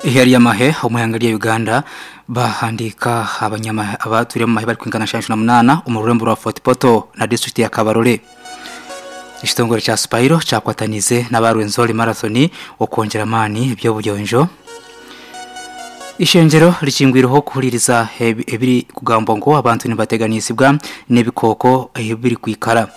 Eihe ry'amahe omu ihanga rya Uganda bahandiika abanyamahe abatwire omu mahe barikwingana 78 omu rurembo rwa Fort Portal na disiturikiti ya Kabarole. Ekitongore kya Spiro kyakwataniize n'aba Rwenzori Marathon okwongyera amaani eby'obuyonjo. Eishengyero rikingwireho kuhuririza ebirikugambwa ngu abantu nibateganisibwa n'ebikooko ahu birikwikara.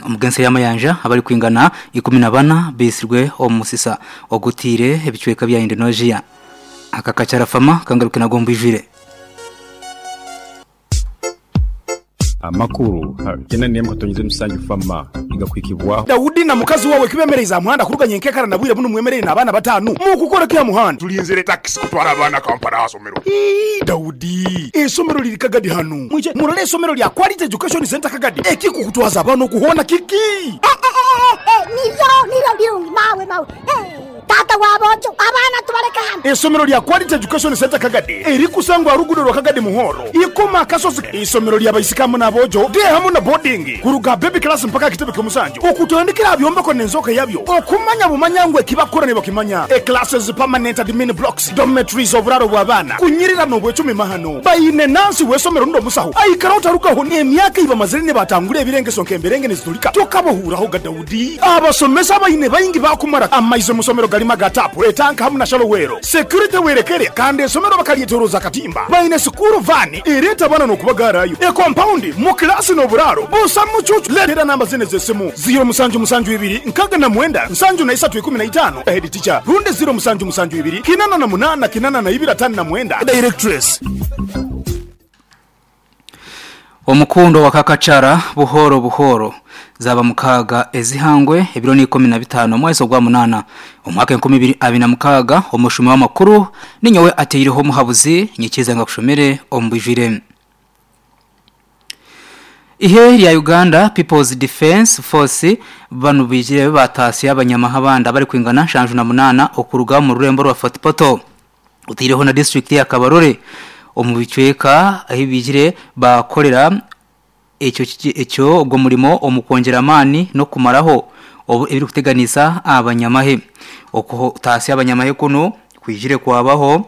Omu g'ensi y'amayanja abarikwingana 14 baitsirwe omu musisa ogutaire ebicweka bya Indonesia. Aka kakyarafama kangaruke nago omu bwijwire. Amakuru gena n'emwe katonyize musanju fama nigakuhikibwaho. Daudi na mukazi wawe kibemereize aha muhanda kuruga nyenkekara na bwire bunu mwemereire n'abaana batanu? Mukukora ki aha muhanda? Tulinzire takisi kutwara abaana Kampala aha somero. Ii, Daudi, eisomero liri Kagadi hanu. Mwije murole eisomero lya Quality Education Centre Kagadi. Ekikukutwaza abaana oku hoona kiki? Nibyo, nibyo birungi mawe mawe. Taata wa boojo, abaana tubaleke hano. Eisomero lya Quality Education Centre Kagadi erikusangwa aha ruguudo rwa Kagadi Muhoro, Ikoma Akasozi. Eisomero lya baisiki hamu n'aboojo, day hamu na boarding, kuruga aha baby class mpaka aha kitebe ky'omusanju, okutandikira aha byombeko n'enzooka yabyo, okumanya bumanya ngu ekibakukora nibakimanya. E Classes, permanent admin blocks, dormitories, oburaaro bw'abaana, kunyirira n'obwecumi mahano. Baine nansi w'eisomero rundi omusaho aikara otarugaho n'emyaka ei bamazire nibatangura ebirengeso nk'emberenge niziturika tokabahuuraho ga Daudi. Abasomesa abaine baingi baakumara amaizi omu somero garimu aga taapu, etanka hamu na shallow well. Security werekere kandi esomero bakaryetoroza akatimba. Baine sikuuru vaani ereeta abaana n'okubagaarayo. Ekompaundi mu kilaasi n'oburaaro busa mucuucu. Leetera namba zinu ez'esimu, ziiro musanju musanju ibiri nkaga na mwenda nsanju na isatu ikumi na itaano, Head teacher, rundi ziiro musanju musanju ibiri kinana na munaana kinana na ibiri atano na mwenda, Directress. Omukundo wa Kakachara buhoro buhoro zaba mukaaga ezihangwe ebiro ni 15 omwezi ogwa munana omwaka 2026 omushumi w'amakuru ninyowe ateireho omuhabuzi nyikiza nga kushomere omubwijwire. Ihe rya Uganda People's Defence Force banu baijire bataasya abanyamahe abandi abarikwingana 78 okuruga omu rurembo rwa Fort Portal. Otaireho na disiturikiti ya Kabarole omu bicweka ahu baijire baakorera ekyo ekyo ogwo murimo omu kwongyera amaani n'okumaraho ebirikuteganisa abanyamahe. Okutaasya abanyamahe kunu kwijire kwabaho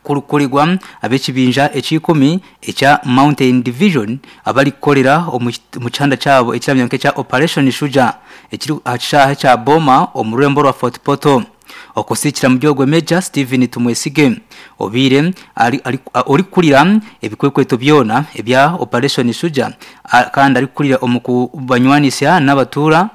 kurikukorerwa ab'ekibinja eky'ikumi ekya Mountain Division abarikukorera omu kihanda kyabo ekiramanywa nk'ekya Operation Shujaa ekiri aha kishaayi kya Boma omu rurembo rwa Fort Portal. Okusiikira muri ogwo Major Stephen Tumwesige obaire orikukurira ebikwekweto byona ebya Operation Shujaa kandi arikukurira omu kubanywanisa n'abatuura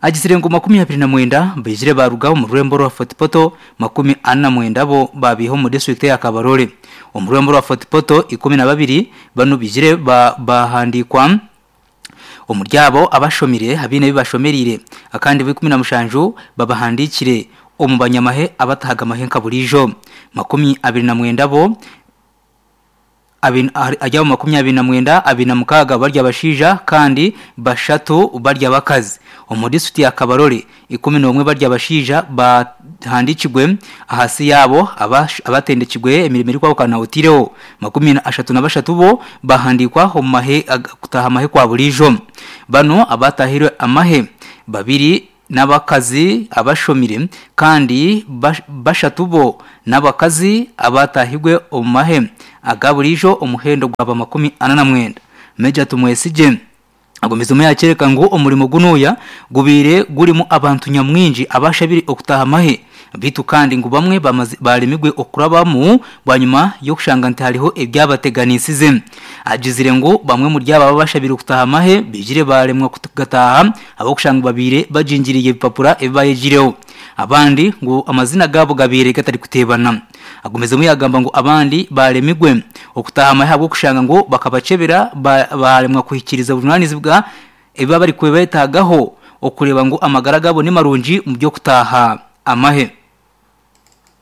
agizire ngu 29 baizire baaruga omu rurembo rwa Fort Portal, 49 bo baabaiha omu disiturikiti eya Kabarole. Omu rurembo rwa Fort Portal, 12 banu baizire baahandiikwa. Omuri abo abashomire abaine ebi bashomereire akandi bo 17 babahandiikire omu banyamahe abatahaga mahe nka buriijo. 29 bo ahari abo 29, 26 bari abashaija kandi bashatu bari abakazi. Omu disiturikiti ya Kabarole, 11 bari abashaija bahandiikirwe ahansi yaabo abatendekirwe emirimo erikwahukana otaireho 33 bo bahandiikwa omu mahe kutaaha amahe kwa buriijo. Banu abatahirwe amahe, babiri n'abakazi abashomire kandi bashatu bo n'abakazi abatahirwe omu mahe aga buriijo omuhendo gwaba 49. Major Tumwesigye agumizemu yakyoreka ngu omurimo gunuya gubaire gurimu abantu nyamwingi abashabire okutaaha amahe beitu kandi ngu bamwe baremirwe okurabamu bwanyima y'okushanga nti hariho ebyabateganisize. Agizire ngu bamwe omuri abo abashabire kutaaha amahe baijire baremwa kugataaha ahabw'okushanga babaire bagingiriire ebipapura ebi bayegireho. Abandi ngu amazina gaabo gabaire gatarikuteebana. Agumizemu yagamba ngu abandi baremirwe okutaaha amahe ahabw'okushanga ngu bakabakyebera baremwa kuhikiiriza obujunanizibwa ebi barikubeetaagaho okureeba ngu amagara gaabo ni marungi omu by'okutaaha amahe.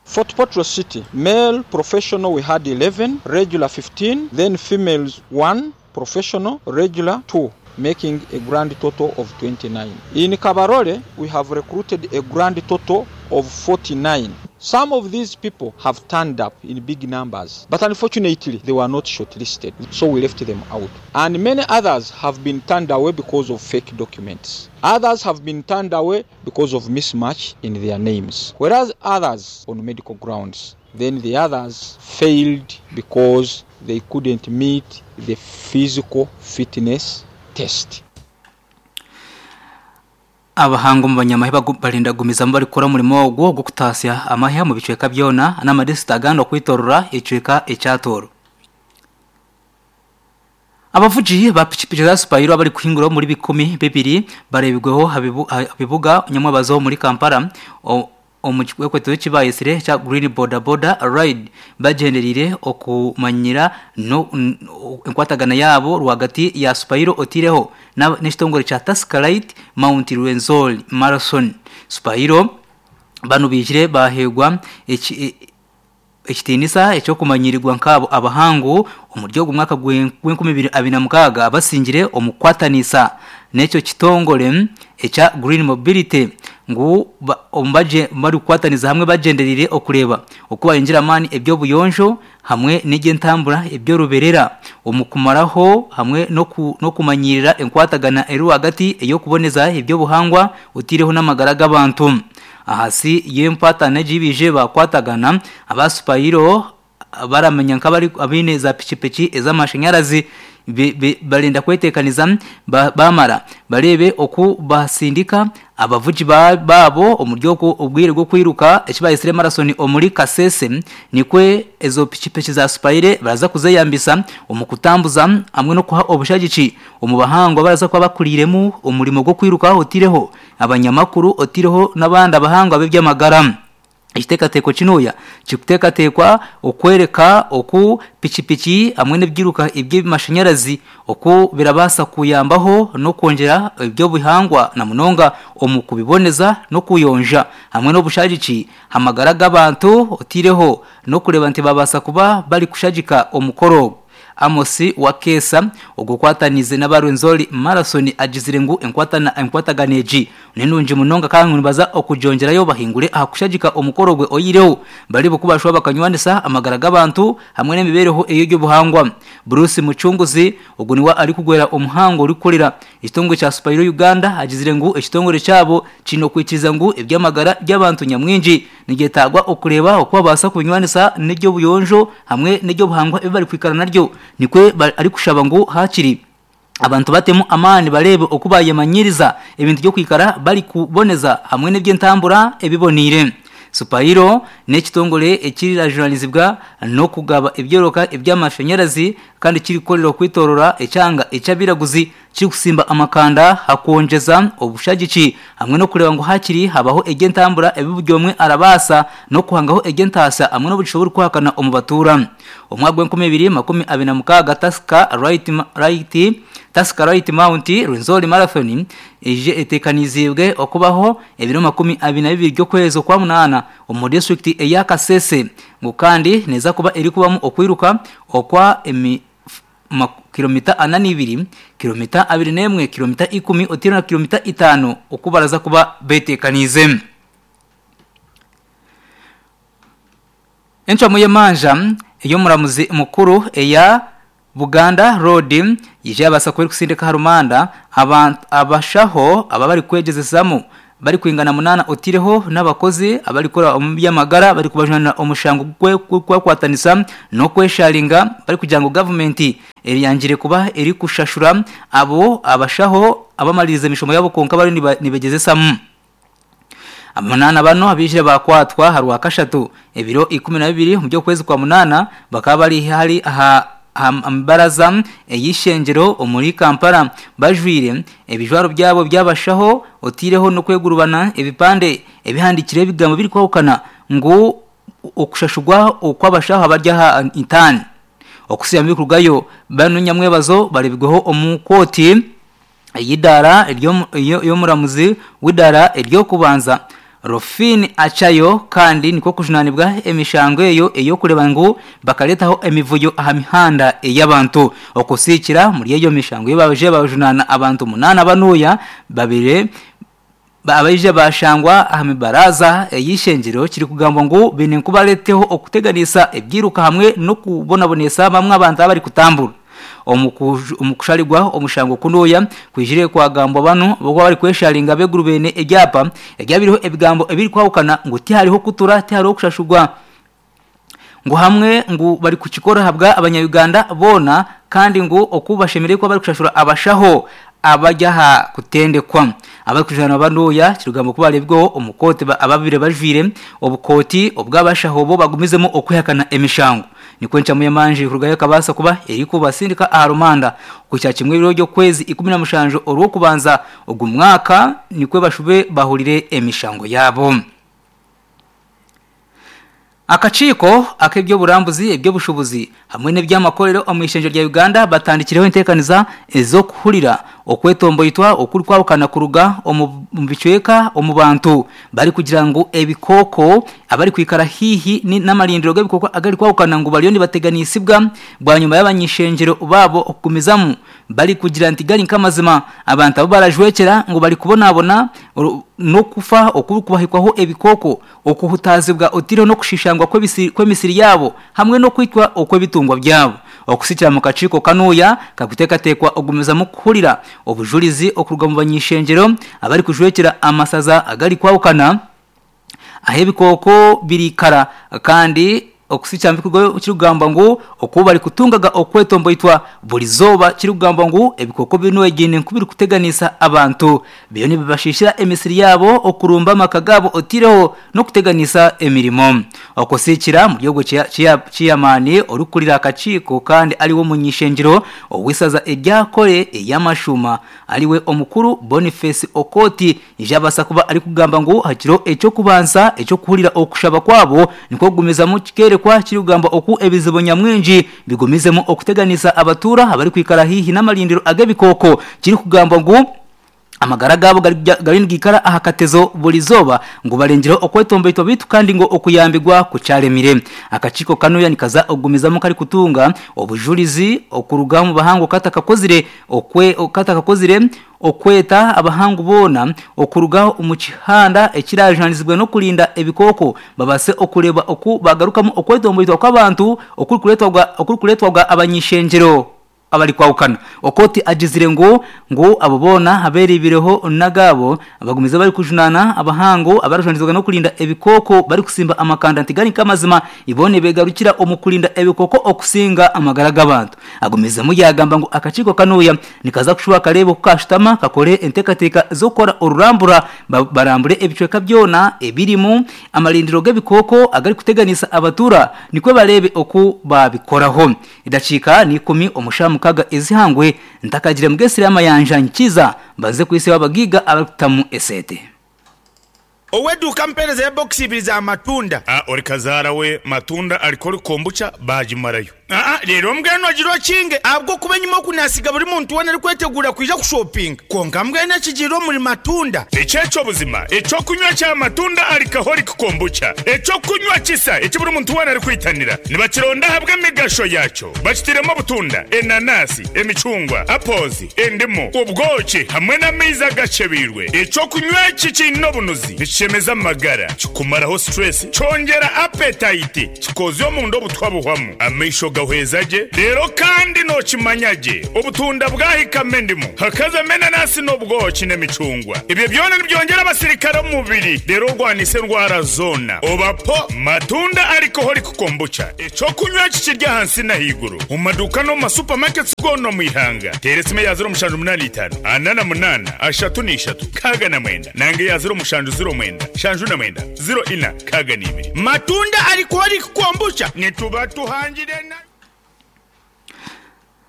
Fort Portal City, Male professional we had 11, regular 15, then females one, professional, regular two, making a grand total of 29. In Kabarole, we have recruited a grand total of 49. Some of these people have turned up in big numbers but unfortunately they were not shortlisted so we left them out and many others have been turned away because of fake documents. Others have been turned away because of mismatch in their names whereas others on medical grounds then the others failed because they couldn't meet the physical fitness test. Abahangu omu banyamahe barenda kugumizamu barikukora omurimo ogwo ogw'okutaasya amahe omu bicweka byona n'amadisiturikiti agandi okwetorora ekicweka ekya Tooro. Abavugi ba pikipiki za Supayiro abarikuhingura omuri 2000 bareebirweho aha bibuga nyamwebazo omuri Kampala omu kikwekweto eki bayetsire ekya Green Boda Boda Ride bagyendereire okumanyira enkwatagana yaabo rwagati ya Supayiro oteireho n'ekitongore kya Tusker Lite Mount Rwenzori Marathon. Supayiro banu baijire baheebwa ekitiinisa eky'okumanyirirwa nk'abo abahangu omuri ogu mwaka gw'enkumi ibiri abiri na mukaaga abasingire omu kukwatanisa n'ekyo kitongore ekya Green Mobility ngu barikukwataniza hamwe bagyendereire okureeba oku bayongyera amaani eby'obuyonjo hamwe n'eby'entambura eby'oruberera omu kumaraho hamwe n'okumanyirira enkwatagana eri rwagati ey'okuboneza eby'obuhangwa oteireho n'amagara g'abantu. Ahansi y'empatana egi baije baakwatagana, aba Supayiro baramanya nk'abaine za pikipiki ez'amashanyarazi barenda kweteekaniza baamara bareebe oku baasindika abavugi baabo omuri obwo obwire bw'okwiruka eki bayetsire marathon omuri Kasese nikwo ezo pikipiki za Supayire baraza kuzeyambisa omu kutambuza hamwe n'okuha obushagiki omu bahangu abaraza kuba bakuriiremu omurimo gw'okwiruka oteireho abanyamakuru oteireho n'abandi abahangu ab'eby'amagara. Ekiteekateeko kinuya kirikuteekateekwa okworeka oku pikipiki hamwe n'ebyiruka eby'amashanyarazi oku birabaasa kuyambaho n'okwongyera eby'obuhangwa na munonga omu kubiboneza n'okuyonja hamwe n'obushagiki aha magara g'abantu oteireho n'okureeba nti baabaasa kuba barikushagika omukoro ogu. Amos Wakeesa ogwo okwataniize n'aba Rwenzori Marathon agizire ngu enkwatagana egi ni nungi munonga kandi ngu nibaza okugyongyerayo bahingure aha kushagika omukoro gwe oyihireho baribo ku bashuba bakanywanisa amagara g'abantu hamwe n'emibeereho ey'eby'obuhangwa. Bruce Mucunguzi ogwo niwe arikugwera omuhango orikukorera ekitongore kya Supayiro Uganda agizire ngu ekitongore kyabo kiine okwikiriza ngu eby'amagara by'abantu nyamwingi Nigyetaagwa okureeba oku babaasa kubinywanisa n'eby'obuyonjo hamwe n'eby'obuhangwa ebi barikwikara naryo. Nikwo arikushaba ngu haakiri abantu batemu amaani bareebe oku baayemanyiiriza ebintu by'okwikara barikuboneza hamwe n'eby'entambura ebiboneire. Supayiro n'ekitongore ekirirajunaanizibwa n'okugaba ebyoroka eby'amashanyarazi kandi kirikukorera okwetoorora ekyanga eky'abairaguzi. Kirikusimba amakanda aha kwongyeza obushagiki hamwe n'okureeba ngu hakiri habaho eby'entambura ebi buri omwe arabaasa n'okuhangaho eby'entaasya hamwe n'obugisha oburikuhakana omu batuura. Omwaka gw'enkumi ibiri 26 Tusker Right Right Tusker Right Mount Rwenzori Marathon eije eteekaniziibwe okubaho ebiro 22 by'okwezi okwamunaana omu disiturikiti eya Kasese ngu kandi neeza kuba erikubamu okwiruka okwa emi Kilomita ana n'ibiri, kilomita abiri n'emwe, kilomita ikumi oteire na kilomita itaano oku baraza kuba beteekaniize. Encwamu y'emanja ey'omuramuzi mukuru eya Buganda Road yaija yabaasa kuba erikusindika aha rumanda abashaho aba barikwegyezesamu barikwingana munaana otaireho n'abakozi abarikukora omu by'amagara barikubajunaanira omushango gw'okwekwatanisa n'okwesharinga barikugira ngu gavumenti eyangire kuba erikushashura abo abashaho abamaririize emishomo yaabo kwonka bariyo nibegyezesamu. Munaana banu abaijire baakwatwa aha Rwakashatu ebiro 12 omu by'okwezi kwa munaana bakaba bari hari aha mbaraza ey'eishengyero omuri Kampala bajwaire ebijwaro byabo by'abashaho otaireho n'okwegurubana ebipande ebihandiikireho ebigambo birikwahukana ngu okushashurwa okw'abashaho abari aha intaani okusiiba birikurugayo banu nyamwebazo bareebirweho omu kooti ey'eidaara y'omuramuzi w'eidaara ery'okubanza, Rophine Achayo kandi nikwo kujunaanibwa emishango eyo ey'okureeba ngu bakareetaho emivuyo aha mihanda ey'abantu. Okusiikira omuri eyo mishango ei babaije bajunaana abantu munaana banuuya babire. Abaija bashangwa aha mibaraza ey'eishengyero kirikugambwa ngu baine nkubareeteho okuteganisa ebyiruka hamwe n'okubonabonesa bamwe abantu abarikutambura. Omu kusharigwa omushango kunuya kwijire kwagambwa banu abakuba barikwesharinga ab'eiguru baine ebyapa ebyabiriho ebigambo ebirikwahukana ngu tihariho kutura tihariho kushashurwa ngu hamwe ngu barikukikora ahabwa abanya-Uganda boona kandi ngu oku bashemereire kuba barikushashura abashaho abari aha kutendekwa. Abarikujunaanwa banuya kirikugambwa ku bareebirweho omu kooti ababaire bajwaire obukooti obw'abashaho bo bagumizemu okwehakana emishango. Nikwo encwamu y'emanja erikurugayo ekabaasa kuba erikubatsindika aha rumanda kuhikya kimwe ebiro by'okwezi 17 Orwokubanza ogu mwaka nikwo bashube bahurire emishango yaabo. Akakiiko ak'eby'oburambuzi, eby'obushubuzi hamwe n'eby'amakorero omu ishengyero rya Uganda batandikireho enteekaniza ez'okuhurira okwetomboitwa okurikwahukana kuruga omu bicweka omu bantu barikugira ngu ebikooko abarikwikara haihi n'amarindiro g'ebikooko agarikwahukana ngu bariyo nibateganisibwa bwanyima y'abany'ishengyero baabo okugumizamu Barikugira nti gari nk'amazima, abantu abu barajwekyera ngu barikubonabona n'okufa okurikubahikwaho ebikooko, okuhutaazibwa otaireho n'okushishangwa kw'emisiri yaabo hamwe n'okwitwa okw'ebitungwa byabo. Okusikira mu kakiiko kanuya karikuteekateekwa okugumizamu kuhurira obujurizi okuruga mu bany'ishengyero abarikujwekyera amasaza agarikwahukana, ahu ebikooko biriikara kandi okusikya kirikugambwa ngu oku barikutungaga okwetomboitwa buri zooba kirikugambwa ngu ebikooko binu egiine nku birikuteganisa abantu biriyo nibibashiishira emisiri yaabo okurumba amaka gaabo otaireho n'okuteganisa emirimo. Okusikira omuri ogwo ceyamaani orikukurira akakiiko kandi ariwe omuny'ishengyero ow'eisaza erya Kore ey'amashuuma ariwe omukuru Boniface Okoti Yabaasa kuba arikugamba ngu aha kiro eky'okubanza eky'okuhurira okushaba kwabo nikwo kugumizamu kikeerekwa kirikugamba oku ebizibu nyamwingi bigumizemu okuteganisa abatuura abarikwikara haihi n'amarindiro ag'ebikooko kirikugambwa ngu amagara gaabo gariyo nigaikara aha katezo buri izooba ngu barengyereho okwetomboitwa beitu kandi ngu okuyambigwa kukyaremire. Akakiiko kanuya nikaza okugumizamu karikutunga obujurizi okuruga omu bahangu katakakozire katakakozire Okweta abahangu boona okuruga omu kihanda ekirajunaanizibwe n'okurinda ebikooko babaase okureeba oku baagarukamu okwetomboitwa kw'abantu okurikureetwaga abany'ishengyero abarikwahukana. Okot agizire ngu ngu abo boona abeereibireho n'agaabo bagumize barikujunaana abahangu abarajunaanizibwa n'okurinda ebikooko barikusimba amakanda nti gari nk'amazima ibo nibeegarukira omu kurinda ebikooko okusinga amagara g'abantu. Agumizemu yaagamba ngu akakiiko kanuya Nikaza kushuba kareebe oku kaashutama kakore enteekateeka z'okukora orurambura barambure ebicweka byona ebirimu amarindiro g'ebikooko agarikuteganisa abatuura nikwo bareebe oku baabikoraho. Edakiika n'ikumi omu shaaha mukaaga ez'eihangwe ntakagire mugesire amayanja nkiza mbanze kwitsya abagaiga abarikutamu eseete. Ow'eduuka ampeereza ebokisi ibiri za matunda. A Ori kazaara we matunda ariko ori kombucha baagimarayo. Aa Reero mbwenu ogire okinge ahabw'okuba enyima oku naasiga buri muntu weena arikweteguura kwija kushopinga. Kwonka mbwenu ekigiire omuri matunda. Eki eky'obuzima, eky'okunywa kya matunda alcoholic kombucha, eky'okunywa kisa eki buri muntu weena arikwitanira. Nibakironda ahabw'emigasho yaakyo. Bakitairemu obutunda, enanasi, emicungwa, apples, endimu, obwoki hamwe n'amaizi agakyebeirwe. Eky'okunywa eki kiine obunuzi, nikishemeza amagara, kikumaraho stress, kyongyera appetite, kikoozya omunda obutwa buhwamu, amaisho gahweza gye, reero kandi nookimanya gye obutunda bwahikamu endimu, hakazamu enanasi n'obwoki n'emicungwa. Ebyo byona nibyongyera abasirikare omu mubiri reero orwanise endwara zoona. Oba po matunda alcoholic kombucha. Eky'okunywa eki kiri ahansi n'ahaiguru omu maduuka n'omu ma supermarkets goona omu ihanga. Teera esimu eya 0785 48 33 69 nanga eya 0709 79 04 62. Matunda alcoholic kombucha nituba tuhangire na.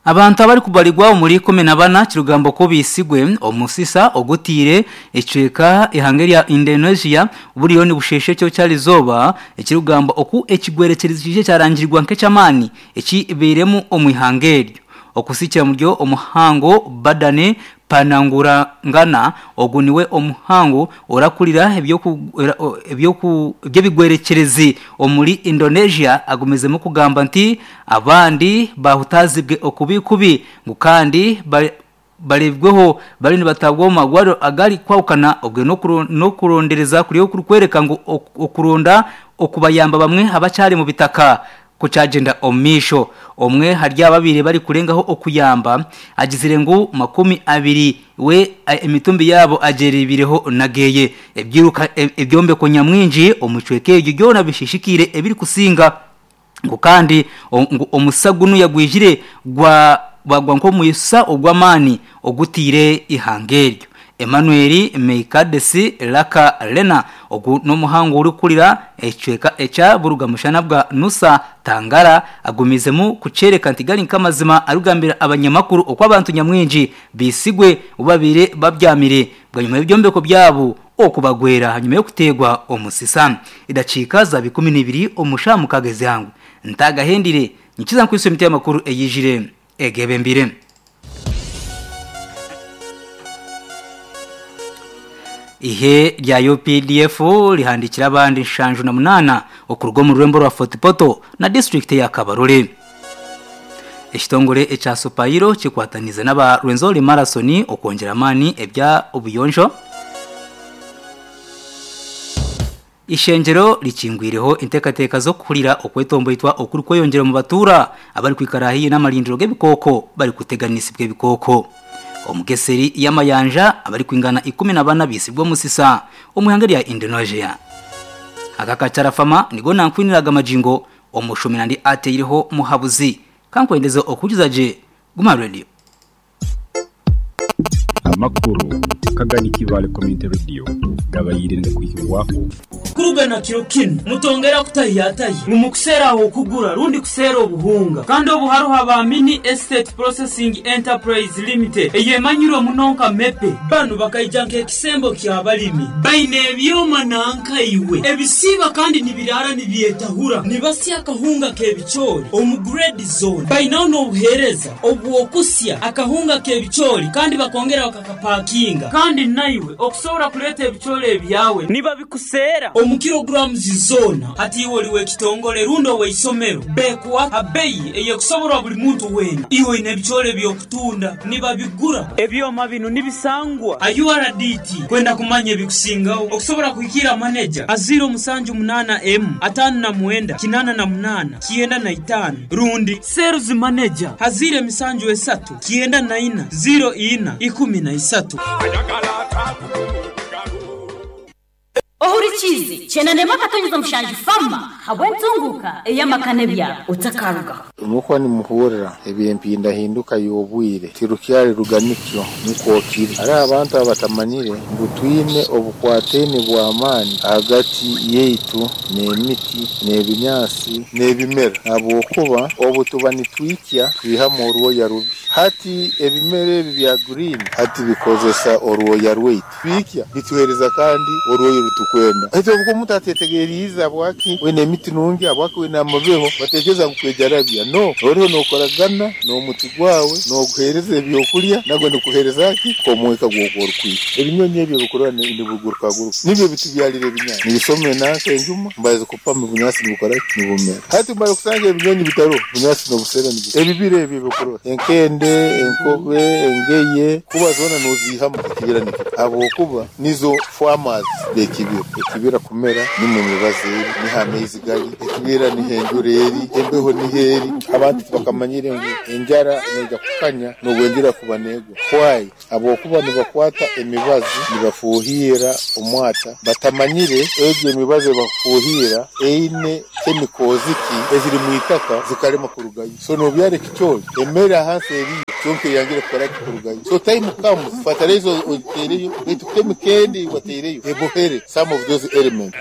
Abantu abarikubarirwa omuri 14 kirikugambwa ku baitsigwe omusisa ogutaire ekicweka eihanga erya Indonesia buriyo nibusheesha ekiro ky'erizooba ekirikugambwa oku ekigwerekyerezi kiije kyarangirirwa nk'eky'amaani ekibairemu omu ihanga eryo. Okusikira omuri omuhango Badani Panangurangana ogu niwe omuhangu orakurira eby'ebigwerekyerezi omuri Indonesia agumizemu kugamba nti abandi bahutaazibwe okubi kubi ngu kandi. Bareebirweho bariyo nibatabwa omu marwariro agari kwahukana obwe n'okurondereza kuriyo kurikworeka ngu okuronda okubayamba bamwe abakyari mu bitaka kukyagyenda omu maisho. Omwe ahari aba abaire barikurengaho okuyamba agizire ngu 20 we emitumbi yaabo agyerebireho nageye. Ebyiruka ebyombeko nyamwingi omu kicweka eryo byona bishishikaire ebirikusinga. Ngu kandi ngu omusisa gunu yagwijire gwa gwagwa nk'omwisa ogw'amaani ogutaire eihanga eryo. Emmanuel Meikadesi Laka Lena ogu n'omuhangu orikukurira ekicweka ekya Buruga-mushana bwa Nusa Tangara agumiizemu kukyereka nti gari nk'amazima arikugambira abanyamakuru oku abantu nyamwingi baisigwe obu babaire babyamire bwanyima y'ebyombeko byabo okubagwera hanyuma y'okuteegwa omusisa. Edakiika zaaba 12 omu shaaha mukaaga ez'eihangwe. Ntaagahendire, nyikiza nkwitse emiti y'amakuru eyaijire egeebembeire. Eihe rya UPDF rihandiikire abandi 78 okuruga omu rurembo rwa Fort Portal na disiturikiti eya Kabarole. Ekitongore ekya Supairo kikwataniize n'aba Rwenzori Marathon okwongyera amaani ebya obuyonjo. Eishengyero rikingwireho enteekateeka z'okuhurira okwetomboitwa okurikweyongyera omu batuura abarikwikara haihi n'amarindiro g'ebikooko barikuteganisibwa ebikooko. Omu geseri y'amayanja abarikwingana 14 baitsirwe omusisa omu ihanga rya Indonesia. Aka kacarafama nigo nankwinira aga magingo Omushumi nandi ateireho muhabuzi. Kankwendeze okuhurikiza gye Guma Radio. Amakuru Kagani Kibaale Community Radio gabaire nigakwihibwaho. Kuruga na kiro kinu, mutongera kutahiyatahya ngu mukuseera ah'okugura rundi kuseera obuhunga. Kandi obu haroho aba Mini Estate Processing Enterprise Limited eyemanyirwe muno nka MEPE. Banu bakaija nk'ekisembo ky'abalimi. Baine ebyoma nanka iwe ebisiiba kandi nibiraara nibyetahura, nibasya akahunga k'ebicoori omu grade zoona. Bainaho n'obuheereza obw'okusya akahunga k'ebicoori kandi bakongera bakakapakinga. Kandi naiwe okusobora kuleeta ebicoori ebyawe nibabikuseera omu kilograms zoona. Hati iwe oli w'ekitongole rundi ow'eisomero, bekuha ha beyi ey'ekusoborwa buli muntu weena. Iwe oine ebicoori eby'okutunda, nibabigura. Ebyoma binu nibisangwa ha URDT. Kwenda kumanya ebikusingaho, okusobora kuhikiira maneja ha 078 emu 59 88 95 rundi Sales Manager ha 073 94 04 13. Ohurikiize, Kyenda n'emwe akatonyeza mushanju Fama habw'entunguuka ey'amaka n'ebyaro. Otakarugaho. Mukwo nimuhurira eby'empindahinduka y'obwire, tirukyari ruganikyo nikwo kiri. Hariho abantu abatamanyire ngu twine obukwataine bw'amaani ahagati yaitu n'emiti, n'ebinyaatsi, n'ebimera ahabw'okuba obu tuba nitwikya twihamu orwoya rubi. Hati ebimera ebi bya green hati bikozesa orwoya rwaitu. Twikya bituheereza kandi orwoya oru tukwenda. Baitu obu omuntu atetegeriize habwaki wena emiti nungi, habwaki wena amabeho, batekereza ngu kwejarabya. No, oriho nokoragana n'omuti gwawe, noguheereza ebyokulya, nagwo nigukuheereza ki? Omwika gw'oku orikwikya. Ebinyonyi ebi ebikurora nibigurukaguruka nibyo bitubyarira ebinyaatsi. Nibisoma enanka enjuma, mbaza kupama obunyaatsi nibukora ki? Nibumera. Hati mara kusanga ebinyonyi bitaroho, obunyaatsi nobusera nibukura. Ebibira ebi ebikurora, enkende, enkobe, engeye, kuba zoona noziihamu ekibira nikikura ahabwokuba nizo farmers b'ekibira. Ekibira kumera nimwo emibazi eri, niho amaizi gari, ekibira niho enjura eri, embeho niho eri. Abantu tibakamanyire ngu enjara neija kukanya n'obu enjura kuba negwa. Why? Ahabwokuba nibakwata emibazi nibafuuhiira omwata batamanyire egyo emibazi ebakufuuhiira eine chemicals ki eziri mwitaka zikarema kurugayo. So nobyara ekicoori emere ahansi eriyo kyonka eyangire kukora ki kurugayo. So time comes fertilizer ogitereyo baitu chemical endi eyiwateireyo ebohere some of those elements.